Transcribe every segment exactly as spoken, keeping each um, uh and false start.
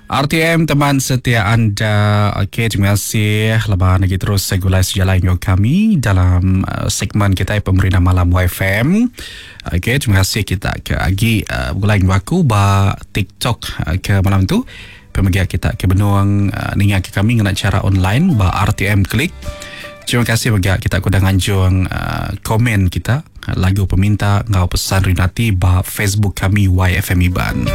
R T M, teman setia anda. Okey, terima kasih leban lagi terus segulai sejalai dengan kami dalam uh, segmen kita Pemerintah Malam Y F M. Okey, terima kasih kita ke agi uh, begulai dengan aku ba TikTok uh, ke malam tu. Pemegia kita ke benuang uh, ninga ke kami ngena cara online ba R T M Klik. Terima kasih bagi kita ku nganjung uh, komen kita lagu peminta ngau pesan rinati ba Facebook kami Y F M Iban.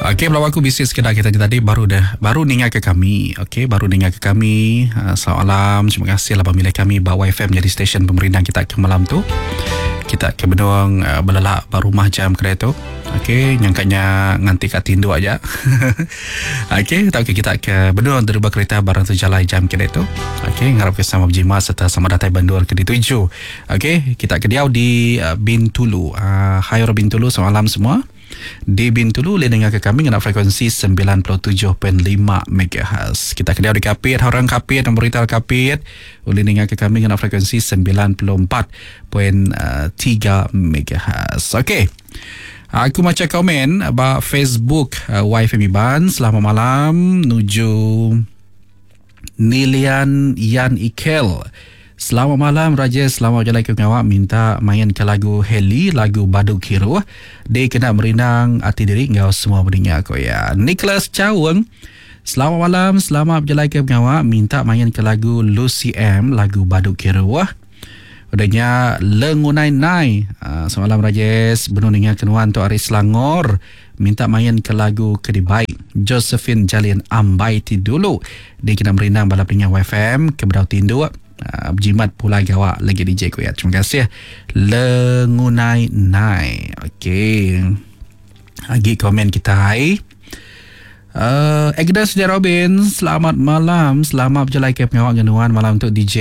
Okey, belum aku bisik sekedar kita tadi baru dah baru ninga ke kami. Okey, baru ninga ke kami. Uh, selamat malam. Terima kasih lah pemilih kami ba Y F M jadi stesen pemerintah kita ke malam tu. Kita ke benuang uh, belelak ba rumah jam kereta tu. Okey, nyangkanya nganti kat tindu aja. Okey, tak okey kita ke benuang terubah kereta barang sejalai jam kereta tu. Okey, ngarap ke sama berjimat serta sama datai banduan ke dituju. Okey, kita ke diau di uh, Bintulu. Uh, hai orang Bintulu, selamat malam semua. Di Bintulu boleh dengar ke kami ngena frekuensi sembilan puluh tujuh perpuluhan lima megahertz. Kita ke diau di Kapit, orang Kapit, dan berita Kapit boleh dengar ke kami ngena frekuensi sembilan puluh empat perpuluhan tiga megahertz. Okey. Aku baca komen ba Facebook uh, Y F M Iban. Selamat malam nuju Nilian Yan Ikel. Selamat malam Raja, selamat jalan ke pengawak, minta main ke lagu Heli, lagu Badu Kiru. Dia kena merinang hati diri ngau semua mendengar ko ya. Nicholas Chaweng. Selamat malam, selamat berjalan ke pengawak, minta main ke lagu Lucy M, lagu Badu Kiru. Udahnya Lengunai Nai. Uh, selamat malam Rajesh, benar dengar kenuan tu Ari Selangor. Minta main ke lagu Kedibai Josephine Jalin Ambai ti dulu. Dia kena merindang balap dengan Y F M ke Berau Tinduk. Uh, berjimat pula gawak lagi D J ku ya. Terima kasih Lengunai Nai. Okey. Lagi komen kita hai. Uh, Agnes J. Robin, selamat malam. Selamat berjalan ke pengawak genuan malam untuk D J.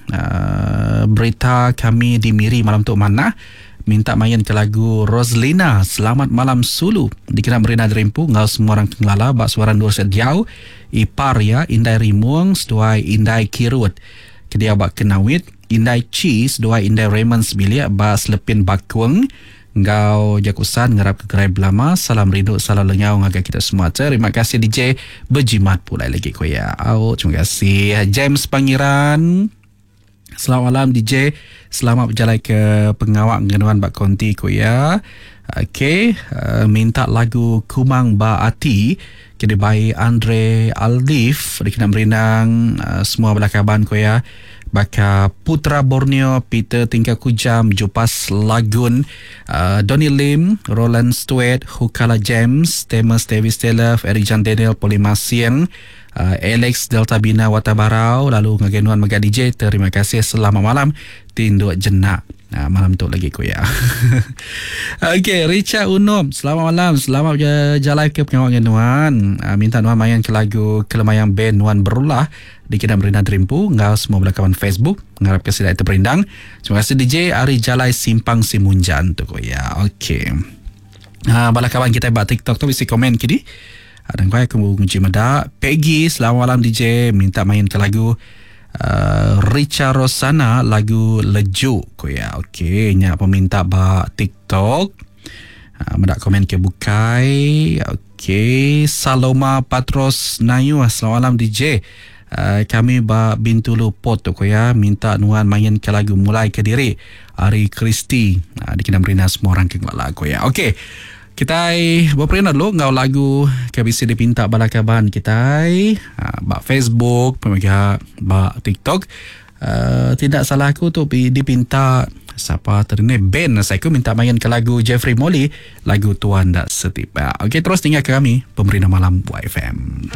Uh, berita kami di Miri malam untuk mana? Minta main ke lagu Roslina, Selamat Malam Sulu. Dikena Merina Derimpu, ngau semua orang kengelala, bak suara Nur Sediau, Ipar ya, Indai Rimuang, seduai Indai Kirut. Kedia bak Kenawit, Indai Cheese, seduai Indai Raymond Sebilik, bak Selepin Bakuang, ngau Jakusan ngerap ke gerai belama. Salam rindu, salam lengau ngagai kita semua. Terima kasih D J, berjimat pula lagi ko ya. Oh, terima kasih James Pangeran. Selamat malam D J, selamat berjalan ke pengawak ngenuan bak konti ko ya. Okey, uh, minta lagu Kumang Ba Ati kini by Andre Aldif, dikena merinang uh, semua belakaban ko ya. Baka Putra Borneo, Peter Tingkah Kujam, Jupas Lagun, uh, Donny Lim, Roland Stewart, Hukala James, Thomas Davis Taylor, Eric John Daniel, Polimasiang, uh, Alex Delta Bina Watabarau, lalu ngagenuan Mega D J. Terima kasih, selamat malam, tinduk jenak. Nah, malam tu lagi ku ya. Okey, Richard Unom, selamat malam, selamat jalan ke pengawak nuan. Uh, minta nuan main ke lagu Kelemayang Band Nuan Berulah di Kidam Rina Terimpu, ngau semua belakawan Facebook, ngarap ke sida itu perindang. Terima kasih D J Ari Jalai Simpang Simunjan tu ko ya. Okey. Ha, bala kawan kita buat TikTok tu bisi komen kini. Dan kau aku menguji meda. Peggy, selamat malam D J, minta main ke lagu Uh, Richa Rosana, lagu Lejuk ko ya. Okey, nya peminta ba TikTok. Uh, mendak komen ke bukai. Okey, Saloma Patros Nayu, selamat malam D J. Uh, kami ba Bintulu Port tu ko ya, minta nuan main ke lagu Mulai ke Diri Ari Kristi. Uh, dikena merina semua orang ke lagu ya. Okey. Kita berperina dulu ngau lagu ke bisa dipinta bala kaban kita ha, bak Facebook, pemega bak TikTok. Uh, tidak salah aku tu dipinta siapa tadi ni, Ben saya aku minta main ke lagu Jeffrey Molly, lagu Tuan Tak Setipa. Okey, terus tinggal ke kami Pemerintah Malam Y F M.